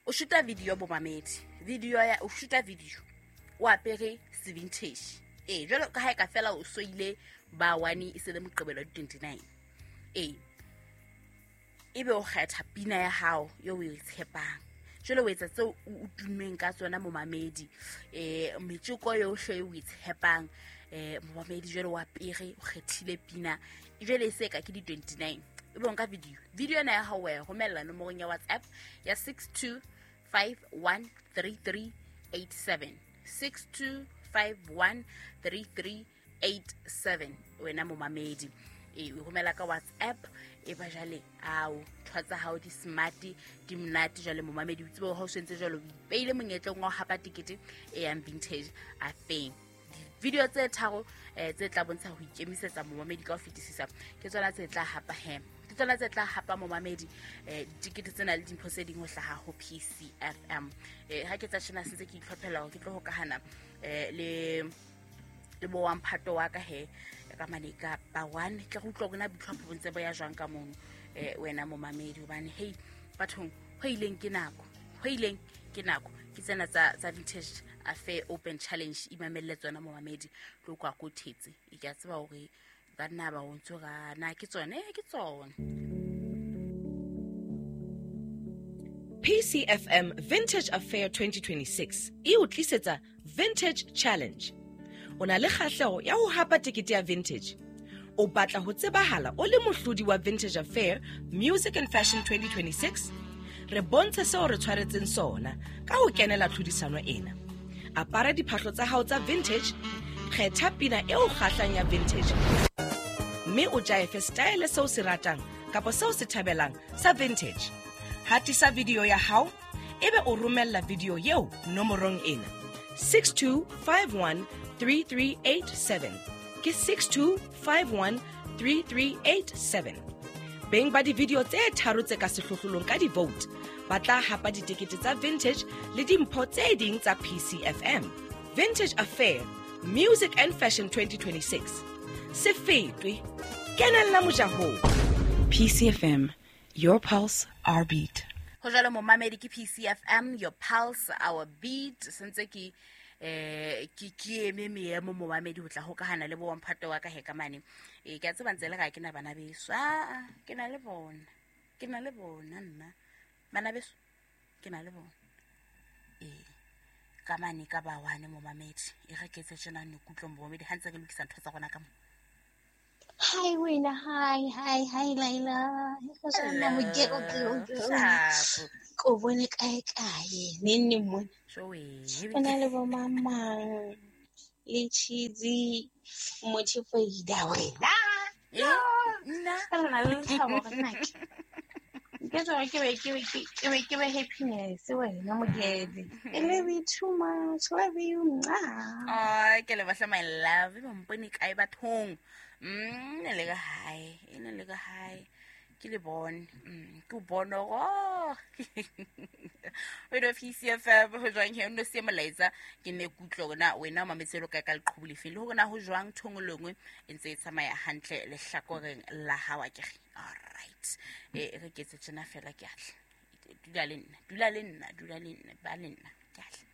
O shoota video, bomamedi, video ya o shoota video o apere se-vintage. Ee, jwalo ka ha e ka fela o soile ba one e se le Moqebelo wa di-29. Ee, ebe o kgetha pina ya hao eo o e tshepang, jwale o etsa tseo o tummeng ka tsona, momamedi, metjeko yohle e o e tshepang, momamedi. Jwale o apere, o kgethile pina, jwale e se ka ke di-29, ebe o nka video. Video ena ya hao wa e romella nomorong ya WhatsApp ya 62513387, 62513387, wena momamedi. E o romela ka WhatsApp. E ba jale ao ntho tsa hao di smart, di monate. Jwale momamedi, o tsebe ha o sentse jwalo, o ipeile monyetleng wa ho hapa tekete e yang Vintage Affair. Video tse tharo tse tla bontsha ho ikemisetsa, momamedi, ka ho fetisisa, ke tsona tse tla hapa he, ke tsona tse tla hapa, momamedi, ditekete tsena le dimpho tse ding ho hlaha ho PCFM. Ha ke tsa tjena, sentse ke itlhophela hore ke tlo hokahana le bo wa mphato wa ka he ka mane ka ba one, ke re utlwa hore na boitlhopho bo ntse bo ya jwang ka mono, wena momamedi, hobane hei bathong, ho ileng ke nako, ho ileng ke nako. Ke tsena tsa Vintage Affair Open Challenge. Imamelle tsona, momamedi, tlo kwa ko thetse e ke a tseba hore banna ba o ntso ra na ke tsone, ke tsone. PCFM Vintage Affair 2026 e o tlisetsa Vintage Challenge. O na le kgahleho ya ho hapa tekete ya vintage? O batla ho tsebahala o le mohlodi wa Vintage Affair Music and Fashion 2026? Re bontshe seo re tshwaretseng sona ka ho kenela tlhodisano ena. Apara diphahlo tsa hao tsa vintage, kgetha pina e o kgahlang ya vintage, mme o jaefe style seo se ratang kapa seo se thabelang sa vintage. Hatisa video ya hao, ebe o romella video eo nomorong ena: 62513387. Ke 62513387. Beng ba di-video tse tharo tse ka sehlohlolong ka di-vote ba tla hapa ditekete tsa vintage le dimpho tse ding tsa PCFM Vintage Affair Music and Fashion 2026. Se fetwe, kenella mojahong. PCFM, your pulse, our beat. Ho jwalo, momamedi, ke PCFM, your pulse, our beat. Sentse ke ke eme meemo, momamedi, ho tla hokahana le bo wamphato wa ka he ka mane. E ke a tseba ntse le ga ke na bana beso. Aa, ke na le bona, ke na le bona nna bana beso, ke na le bona ee ka mane ka ba wane, momamedi. E re ke etse tjena ne kutlwe, momamedi, ha ntse re lokisa ntho tsa rona ka mo. Hi wena, hi hi hi Laila. Hello. Sharp. Ko bone kae kae neng neng mona. Joey. O na le bo mamang le cheesy mochifoida wena. Eh, nna. Ka re na le lethabo re nnake. Ke tswa ke be happiness wena mokete. I love you too much. Love you. Mwah. Ay, ke lebohle, my love. E mpone kae bathong? Ne le ka hae, e ne le ka hae. Ke le bone. Ke o bone hore, oh. Wena PCFM, ho jwang he? O no siye molaetsa, ke ne ke utlwe hore na wena o mametse lo kae, ka leqhubu lefe, le hore na ho jwang thongolongwe e ntse e tsamaya hantle lehlakoreng la hao akere. Alright. E re ke etse tjena fela, ke atla. Dula le nna, dula le nna, dula le nna, ba le nna. Ke atla.